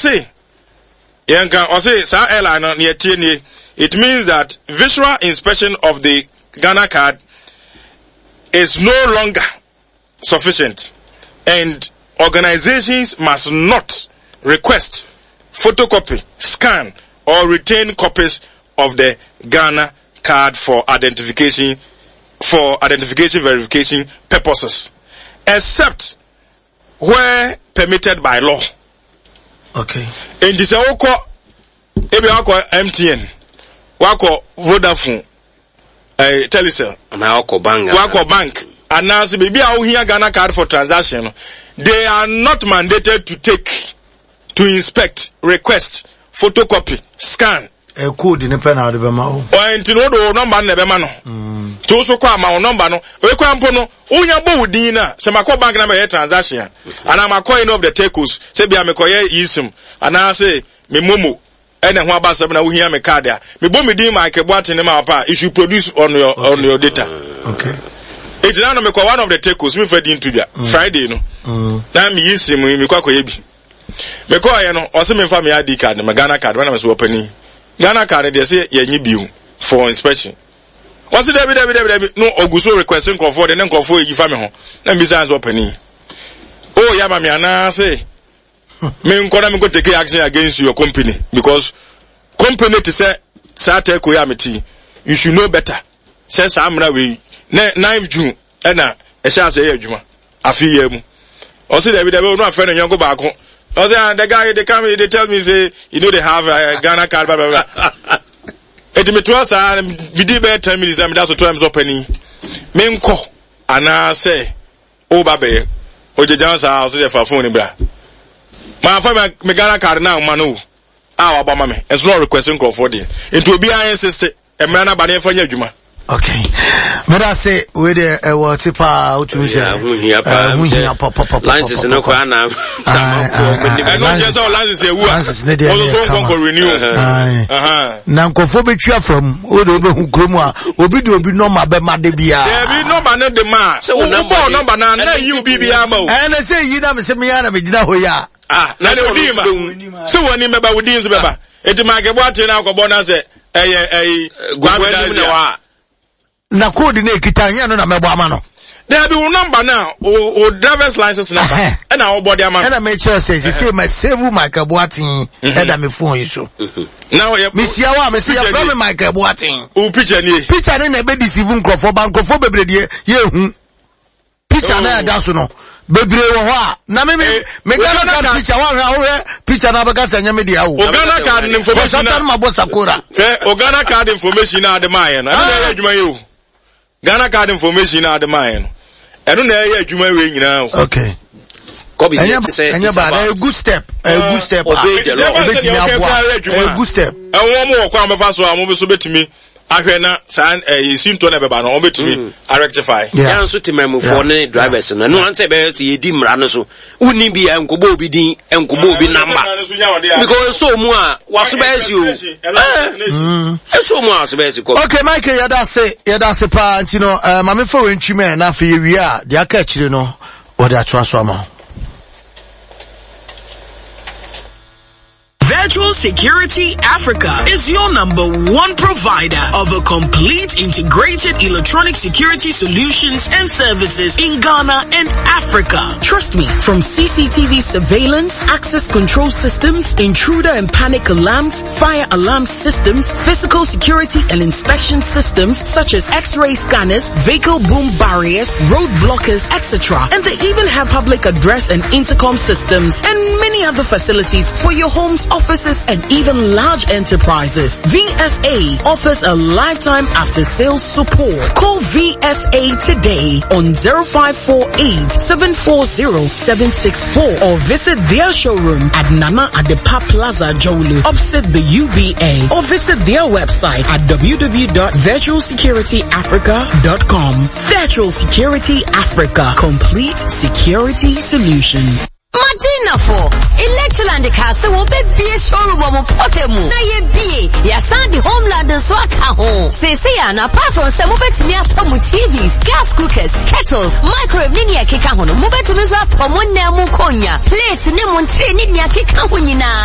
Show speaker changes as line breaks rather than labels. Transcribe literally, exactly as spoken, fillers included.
Ɔse yɛnka ɔse saa airline no neɛ tie nie, it means that visual inspection of the Ghana Card is no longer sufficient and organizations must not request, photocopy, scan or retain copies of the Ghana Card for identification for identification verification purposes, except where permitted by law.
Okay.
Enti sɛ wokɔ ebi wakɔ M T N, wakɔ Vodafone, eh, Telecel,
anaa wakɔ bank.
Wakɔ bank anaasɛ biribi a wohia Ghana Card for transaction no, they are not mandated to take, to inspect, request, photocopy, scan.
Ɛ code ne pɛ na ɔde bɛma wo.
Ɔyɛ nti no wode wo number no na ɛbɛma no, nti wo so kɔ ama wo number no ekura mpo no wonya bɔ wo din no a, sɛ makɔ bank na mɛyɛ transaction a, anaa makɔ any of the telcos, sɛ bia mekɔyɛ eSIM anaasɛ me MoMo ɛna ho aba asɛm na wohia me card a, mebɔ me din Michael Boateng ne ma pa, you should produce on your okay. on your data.
Okay.
Eti na no mekɔ one of the telcos, mefa din to dwa, Friday no na meyi SIM yi, mekɔ akɔyɛ bi. Mekɔɔyɛ no, ɔsɛ memfa me I D card, me Ghana Card. Wɔnam sɛ wɔpani Ghana Card deɛ sɛ yɛnye bio for inspection. Wɔsi dabi, dabi, dabi, dabi, no ogu so request nkurɔfoɔ de ne nkurɔfoɔ yi fa me ho na mbisa sɛ ɔpani o yɛ ama me anaasɛ me nkɔ na me nkɔ take action against your company, because company te sɛ saa telco yi a mete, you should know better sɛ saa mmara wei ne nine June ɛna ɛhyɛ ase ɛyɛ adwuma afi yɛ mu. Ɔsi dabi, dabi, onu afɛ ne nyɔnko baako. Ɔsi, "Ah, the guy dey come, they tell me say you know they have uh, Ghana Card, blah blah blah." Eti mi toa saa mi di bɛyɛ ten minutes a mi da so toa mi sɛ ɔpani mi nkɔ anaasɛ ɔba bɛyɛ ogyegya saa. Ɔsi yɛ fa phone ni bra maa fa mi Ghana Card na ɔma no a wabɔ ama mi nso na ɔrequest nkurɔfoɔ deɛ, nti obiara insist mmerɛ n'aba ne yɛfa nyɛ adwuma.
Okay, meda se wei deɛ ɛwɔ te paa, wotumi sɛ
ho hia paa.
Ho hia papapapa.
License no koraa na
ɛno nkyɛn sɛ license ewu a
license ne deɛ
ɔno so nkɔnkɔ renew.
Na nkɔfoɔ bɛtwi afa mu, o de wobɛhu kurom a obi de obi number bɛma de biara.
Dabi, number no de ma
Sɛ wo number
wobɔ
de-
number na na yi wo biribiara ma o.
Ɛnɛ sɛ yi na mesɛ meyɛ na megyina hɔ yi a.
Ah, na ne odi ma sɛ wɔn anim bɛba, wo din nso bɛba, eti maa kɛbɔ ate na akɔbɔ na sɛ ɛyɛ ɛyi.
Gugu anim na wa
na code no ekita nyɛ no na mɛbɔ ama no.
Dabi, wo number na o o driver's license number
Ɛhɛn.
ɛna ɔbɔ de ama no.
Ɛna mekyerɛ sɛ sese ma save Michael Boateng ɛda me phone yi so.
Na ɔyɛ
mesia wo a mese
Picture
yɛfrɛ
nie.
me Michael Boateng.
Wo picture nie.
Picture ne na ɛbɛdeceive nkurɔfoɔ ba, nkurɔfoɔ bebree deɛ yɛhu picture na ɛda so no bebree wɔ hɔ a na me me
Eh,
me
wo
Ghana
Ghana
Card
card-
picture woahwɛ a, wohwɛ picture na abɛka sɛ ɛnyɛ me deɛ o.
O Ghana Card ne information
kɔsata
na
no mabɔ sakora.
Hwɛ, o Ghana Card information na ade maa yɛ no, ɛno na ɛyɛ adwuma yi o. Ghana Card information na ade maa yɛ no, ɛno na ɛyɛ adwuma wei nyinaa o.
Okay.
Kɔbi
ɛnyɛ
deɛ te sɛ
ɛnyɛ bad, ɛyɛ good step, ɛyɛ good step a
Obey the law.
ɛbɛtumi aboa, ɛyɛ good step.
Ɛwɔn mo wɔ kwan bɛfa so a mo nso bɛtumi ahwɛ na saa ɛyɛ sintɔ na ɛbɛba no, wɔn bɛtumi arectify.
Yeah.
Yɛn nso temamufoɔ ne drivers no, ɛno ansɛ ɛbɛyɛ sɛ yɛdi mmara no so, wonni bi a nkɔbɔ obi din, nkɔbɔ obi number, because ɛsɔ mu a waso bɛyɛ si o. Ɛɛ, ɛsɔ mu a waso bɛyɛ si kɔ.
Okay, Michael, yɛda ase, yɛda ase paa. Nti no uh, maame fa wei ntwi mɛ na afei yɛwie a, deɛ aka akyire no wɔde atoa so ama wo.
Virtual Security Africa is your number one provider of a complete integrated electronic security solutions and services in Ghana and Africa. Trust me, from C C T V surveillance, access control systems, intruder and panic alarms, fire alarm systems, physical security and inspection systems such as X-ray scanners, vehicle boom barriers, road blockers, et cetera. And they even have public address and intercom systems and many other facilities for your homes, offices, and even large enterprises. V S A offers a lifetime after sales support. Call V S A today on zero five four eight seven four zero seven six four or visit their showroom at Nana Adepa Plaza, Jolu, opposite the U B A, or visit their website at w w w dot virtual security africa dot com. Virtual Security Africa, complete security solutions.
Madinafo, Electroland ka sɛ wɔbɛbie showroom wɔ mo pɔtɛ mu na yɛbie yɛasan de Homeland nso aka ho seesei a na apart from sɛ mobɛtumi atɔ mo T Vs, gas cookers, kettles, microwave ne nea ɛkeka ho no, mobɛtumi nso atɔ mo nnan mu nkonnwa, plate ne mo nkyere ne nea ɛkeka ho nyinaa.